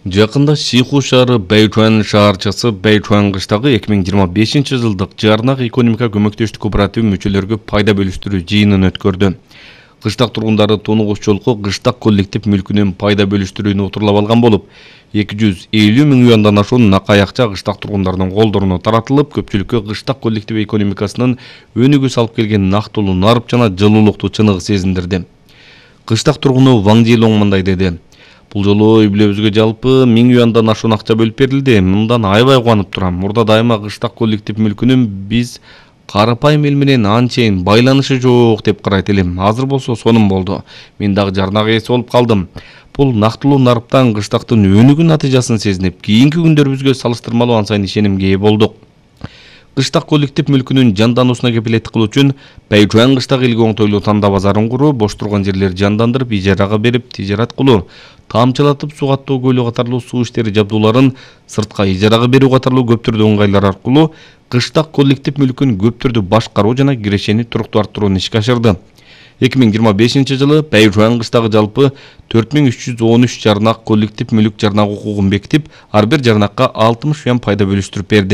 Жакында Сиху шаары Бэйчуан шаарчасы Бэйчуан кыштагы 2025 жылдык жарнак экономика көмөктөштүк кооперативи мүчөлөргө пайда бөлүштүрүү жыйынын өткөрдү. Кыштак тургундары Тонугуш жолку кыштак коллектив мүлкүнүн пайда бөлүштүрүүнү отурлап алган болуп, 250 миң юандан ашуун накай акча кыштак тургундардын колдоруна таратылып, көпчүлүккө кыштак коллектив экономикасынын өнүгүүсү алып келген нактылуу нарып жана жылуулукту чыныгы сезиндирди. Кыштак тургуну Ваң Жилоң мындай деди: "Бул жолу үй-бүлөбүзгө жалпы 1000 юандан ашуун акча бөлүп берилди. Мындан аябай кубанып турам. Мурда дайыма кыштак коллектив мүлкүнүн биз карапайым эл менен анчейин байланышы жок деп карайт элем. Азыр болсо сонун болду. Мен дагы жарнак ээси болуп калдым. Бул нактылуу нарыптан кыштактын өнүгүү натыйжасын сезинип, кийинки күндөрүбүзгө салыштырмалуу анчайын ишенимге ээ болдук. Кыштак коллектив мүлкүнүн жандануусуна кепилеттик кылуу үчүн Бэйчуан кыштак элге оңтойлуу тандаа базарын куруу, бош турган жерлерди жандандырып, ижарага берип, тижарат кылуу, тамчылатып суу каттоо көлү катарлуу суу иштери жабдууларын сыртка ижарага берүү катарлуу көп түрдүү ыңгайлар аркылуу кыштак коллектив мүлкүн көп түрдүү башкаруу жана кирешени туруктуу арттырууну ишке ашырды. 2025 жылы Бэйчуан кыштагы жалпы 4313 жарнак коллектив мүлк жарнак укугун бекитип, ар бир жарнакка 60 юан пайда бөлүштүрүп берди.